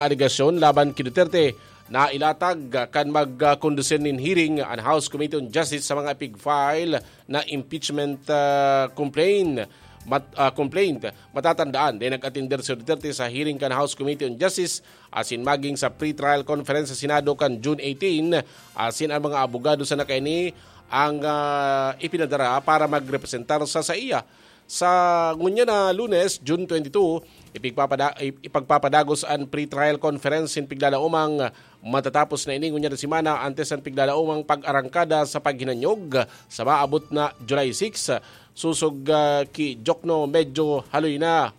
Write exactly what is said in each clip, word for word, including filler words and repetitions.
alegasyon laban ki Duterte, nailatag kan magkondusir nin hearing an House Committee on Justice sa mga ipig-file na impeachment, ah, complaint. Mat-, ah, complaint. Matatandaan, dai nag-atender si Duterte sa hearing kan House Committee on Justice asin maging sa pre-trial conference sa Senado kan June eighteen, asin ang mga abogado sana kaini ang, ah, ipinadara para magrepresentar sa saiya. Sa ngunyan na Lunes, June twenty-two, ipigpapada-, ip-, ipagpapadagos an pre-trial conference nin piglalaomang matatapos na ini ngunyan na semana antes an piglalaomang pag-arangkada sa paghinanyog sa maabot na July six, sosog, ah, ki Jokno. Medyo haloy na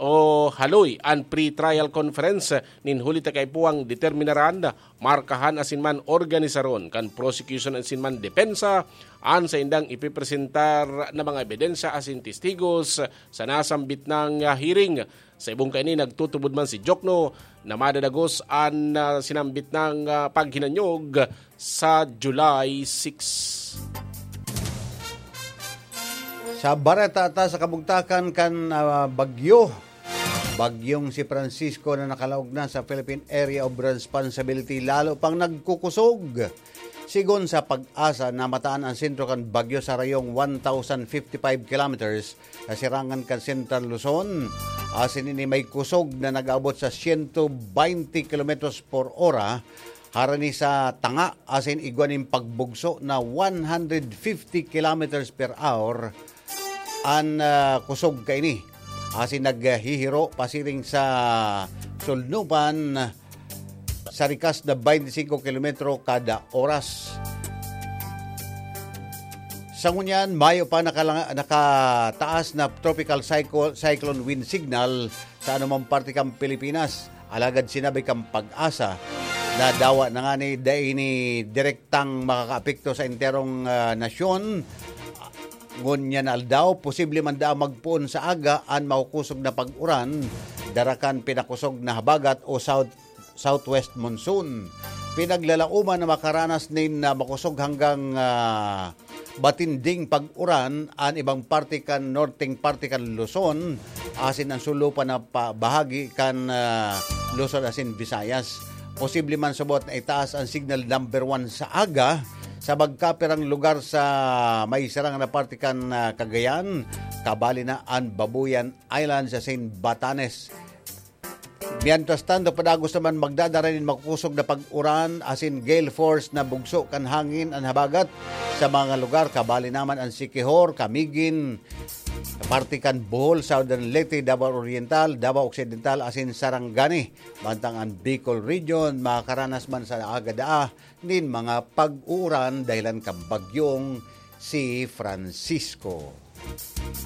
o haloy an pre-trial conference nin huli ta kaipuhan determinaran, markahan asin man organisaron kan prosecution asin man depensa an saindang ipipresentar na mga ebidensya asin testigos sa nasambit nang, ah, hearing. Sa ibong kaini, nagtutubod man si Jokno na madadagos an, ah, sinambit nang, ah, paghinanyog sa July six. Sa bareta ta sa kabugtakan kan, ah, bagyo, bagyong si Francisco na nakalaog na sa Philippine Area of Responsibility lalo pang nagkukusog. Sigon sa PAGASA, namataan an sentro kan bagyo sa rayong one thousand fifty-five kilometers sa sirangan kan Central Luzon. Asin ini may kusog na nag-abot sa siyento baynte kilometros por ora, harani sa tanga asin igwa nin pagbugso na one hundred fifty kilometers per hour an, ah, kusog kaini. Asin naghihiro pasiring sa Sulnupan sa rikas na baynte singko kilometro kada oras. Sa ngunyan, mayo pa nakala-, nakataas na tropical cyclo-, cyclone wind signal sa anumang parte kan Pilipinas. Alagad sinabi kan PAGASA na dawa na ngani dai ini direktang makakaapekto sa enterong, ah, nasyon. Ngunyan na aldaw, posible man daa magpoon sa aga an makukusog na pag-uran, dara kan pinakusog na habagat o south southwest monsoon. Pinaglalaoman na makaranas nin, ah, makusog hanggang, ah, matinding pag-uran an ibang parte kan norteng parte kan Luzon, asin an sulupan na pa-, bahagi kan, ah, Luzon asin Visayas. Posible man subot na itaas an signal number one sa aga sa magkapirang lugar sa may sarang na parte kan, ah, Cagayan, kabali na an Babuyan Islands asin Batanes. Mientras tanto, padagos naman magdadara nin makusog na pag-uran asin gale force na bugso kan hangin an habagat sa mga lugar, kabali naman an Siquijor, Camiguin, parte kan Bohol, Southern Leyte, Davao Oriental, Davao Occidental asin Sarangani. Mantang an Bicol Region makakaranas man sa aga daa nin mga pag-uuran dahilan kan bagyong si Francisco.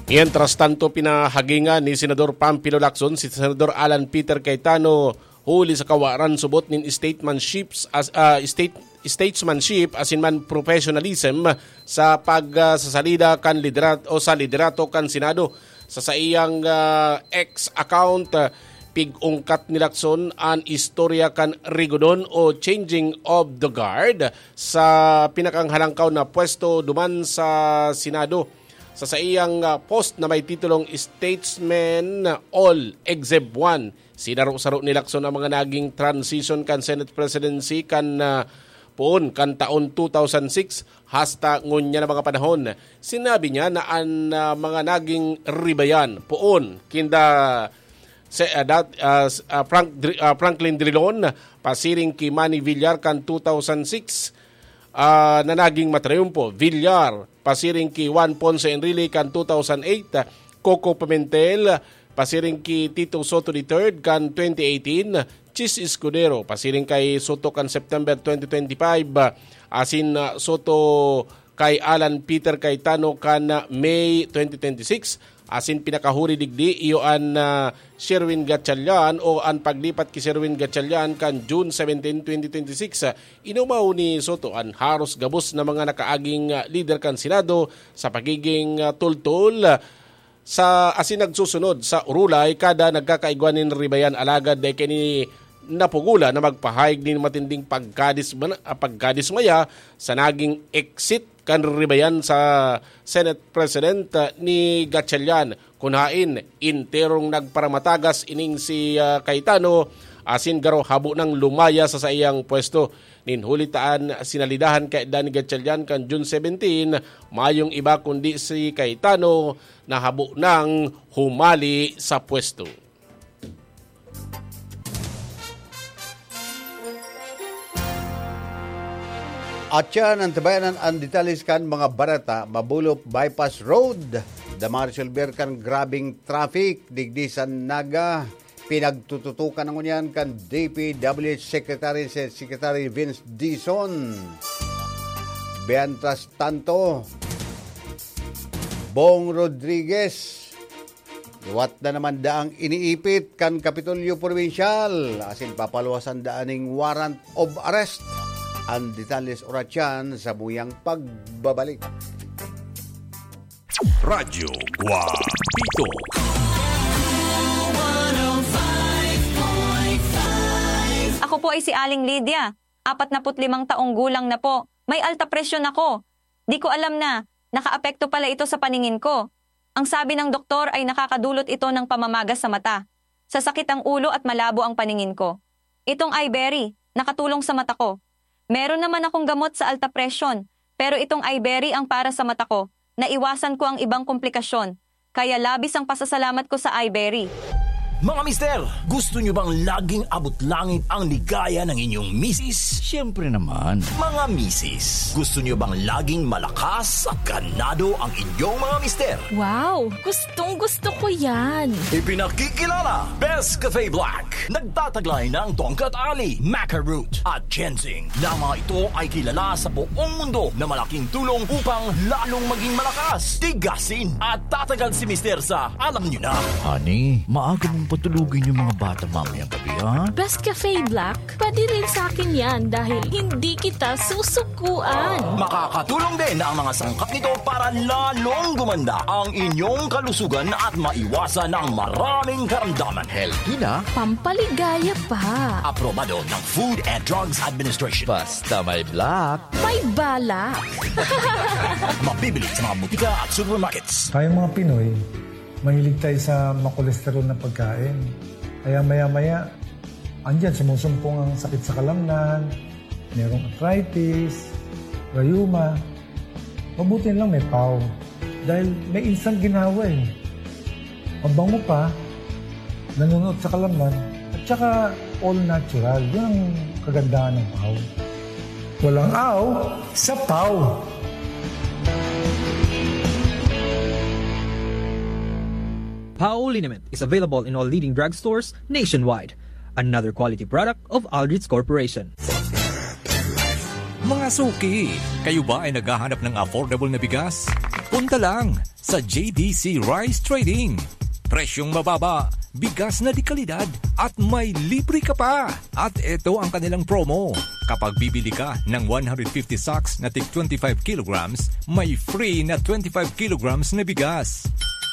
Mientras tanto, pinahagingan ni Senador Panfilo Lacson si Senador Alan Peter Cayetano huli sa kawaran subot nin statesmanship as, ah, state-, statesmanship asin man professionalism sa pag, ah, sasalida kan liderat-, o sa liderato kan Senado. Sa saiyang, ah, X account, ah, pig-ungkat ni Lacson an istorya kan rigodon o changing of the guard sa pinakanghalangkaw na pwesto duman sa Senado. Sa saiyang, ah, post na may titulong Statesmen All Except One, sinaro-saro ni Lacson ang mga naging transition kan Senate presidency kan, ah, poon kan taon two thousand six hasta ngunyan na mga panahon. Sinabi niya na an, ah, mga naging ribayan poon kinda se-, ah, dat-, ah, s-, ah, Frank Dri-, ah, Franklin Drilon, pasiring ki Manny Villar kan two thousand six, ah, na naging matrayumpo. Villar, pasiring ki Juan Ponce Enrile kan two thousand eight, Coco Pimentel, pasiring ki Tito Sotto the third kan twenty eighteen, Chiz Escudero, pasiring kay Sotto kan September twenty twenty-five, asin, ah, Sotto kay Alan Peter Cayetano kan, ah, May twenty twenty-six. Asin pinakahuri digdi, iyo an, ah, Sherwin Gatchalian o an paglipat ki Sherwin Gatchalian kan June seventeen, twenty twenty-six. Inumaw ni Sotto an haros gabos na mga nakaaging, ah, lider kan Senado sa pagiging, ah, tultol, ah, sa asin nagsusunod sa urulay kada nagkakaigwa nin ribayan, alagad dai kini napugolan na magpahayag nin matinding pagkadisma-, ah, pagkadismaya sa naging exit kan ribayan sa Senate President, ah, ni Gatchalian. Kun haen, enterong nagparamatagas ining si, ah, Cayetano asin garo habo nang lumaya sa saiyang pwesto. Nin huli ta an sinalidahan kay Danny Gatchalian kan June seventeen, mayong iba kundi si Cayetano na habo nang humali sa pwesto. At yan ang tabayanan an detalles kan mga bareta. Mabulop Bypass Road, damaresolber kan grabeng traffic digdi sa Naga. Pinagtututukan na ngunyan kan D P W H Secretary, si Secretary Vince Dizon. Mientras tanto, Bong Rodriguez, liwat na naman daang iniipit kan Kapitolyo Probinsyal, asin papaluwasan daan ning warrant of arrest. Ang detalles oratyan sa buyang pagbabalik. Radyo Guapito. Ako po ay si Aling Lydia, apat na put limang taong gulang na po. May alta presyon ako. Di ko alam na nakaapekto pala ito sa paningin ko. Ang sabi ng doktor ay nakakadulot ito ng pamamaga sa mata, sasakit ang ulo at malabo ang paningin ko. Itong Iberry, nakatulong sa mata ko. Meron naman akong gamot sa alta presyon, pero itong Iberry ang para sa mata ko. Naiwasan ko ang ibang komplikasyon, kaya labis ang pasasalamat ko sa Iberry. Mga mister, gusto nyo bang laging abot langit ang ligaya ng inyong misis? Siyempre naman. Mga misis, gusto nyo bang laging malakas at ganado ang inyong mga mister? Wow! Gustong gusto ko yan! Ipinakikilala, Best Cafe Black. Nagtataglay ng tongkat ali, maca root, at ginseng, na mga ito ay kilala sa buong mundo na malaking tulong upang lalong maging malakas, tigasin, at tatagal si mister sa alam nyo na. Honey, maaga mong patulugin yung mga bata mamayang gabi, ha? Best Cafe Black, pwede rin sa akin yan dahil hindi kita susukuan. Makakatulong din ang mga sangkap nito para lalong gumanda ang inyong kalusugan at maiwasan ang maraming karamdaman. Healthy na. Pampaligaya pa. Aprobado ng Food and Drugs Administration. Basta may black. May balak. Mabibili sa mga butika at supermarkets. Tayong mga Pinoy, mahilig tayo sa makolesterol na pagkain. Kaya maya-maya, andyan, sumusumpong ang sakit sa kalamnan, merong arthritis, rayuma. Mabuti lang may pau. Dahil may instant ginhawa eh. Mabango pa, nanunuot sa kalamnan, at saka all natural. Yun ang kagandahan ng pau. Walang aw sa pau. Pau Liniment is available in all leading drugstores nationwide. Another quality product of Aldrich Corporation. Mga suki, kayo ba ay naghahanap ng affordable na bigas? Punta lang sa J D C Rice Trading. Presyong mababa, bigas na de kalidad, at may libre ka pa! At eto ang kanilang promo. Kapag bibili ka ng one hundred fifty sacks na tig twenty-five kilograms, may free na twenty-five kilograms na bigas.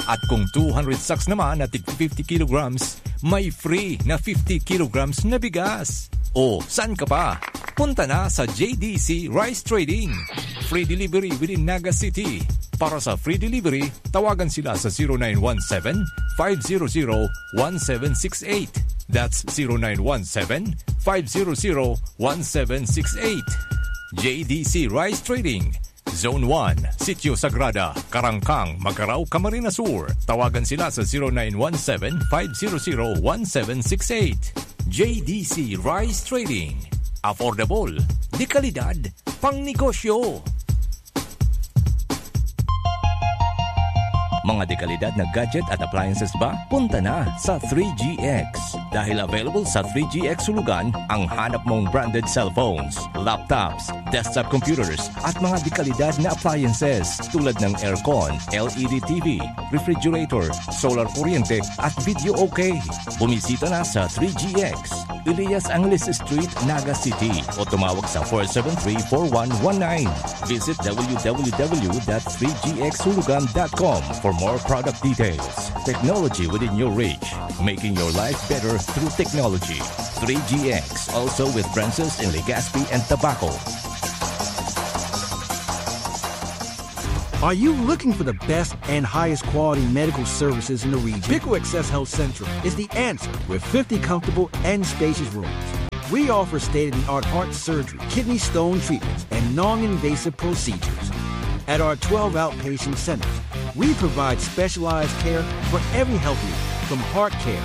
At kung two hundred sacks naman na tig fifty kilograms, may free na fifty kilograms na bigas. O, saan ka pa? Punta na sa J D C Rice Trading. Free delivery within Naga City. Para sa free delivery, tawagan sila sa zero nine one seven, five zero zero, one seven six eight. That's zero nine one seven, five zero zero, one seven six eight. J D C Rice Trading, Zone one, Sitio Sagrada, Karangkang, Magarao, Camarines Sur. Tawagan sila sa zero nine one seven, five zero zero, one seven six eight. J D C Rice Trading. Affordable, de kalidad, pang negosyo. Mga dekalidad na gadget at appliances ba? Punta na sa three G X. Dahil available sa three G X Hulugan ang hanap mong branded cellphones, laptops, desktop computers, at mga dekalidad na appliances tulad ng aircon, L E D T V, refrigerator, solar kuryente, at video okay. Bumisita na sa three G X, Elias Angeles Street, Naga City, o tumawag sa four seven three, four one one nine. Visit w w w dot three g x hulugan dot com for more product details. Technology within your reach, making your life better through technology. Three G X, also with branches in Legazpi and Tabaco. Are you looking for the best and highest quality medical services in the region? Bicol Access Health Central is the answer with fifty comfortable and spacious rooms. We offer state-of-the-art heart surgery, kidney stone treatments, and non-invasive procedures. At our twelve outpatient centers, we provide specialized care for every health need, from heart care,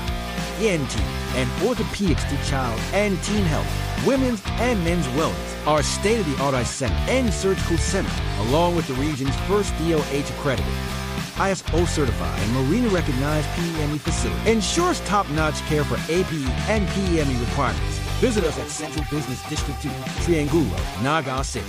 E N T, and orthopedics to child and teen health, women's and men's wellness. Our state-of-the-art eye center and surgical center, along with the region's first D O H accredited, I S O certified, and Marina recognized P E M E facility, ensures top-notch care for A P E and P E M E requirements. Visit us at Central Business District two, Triangulo, Naga City.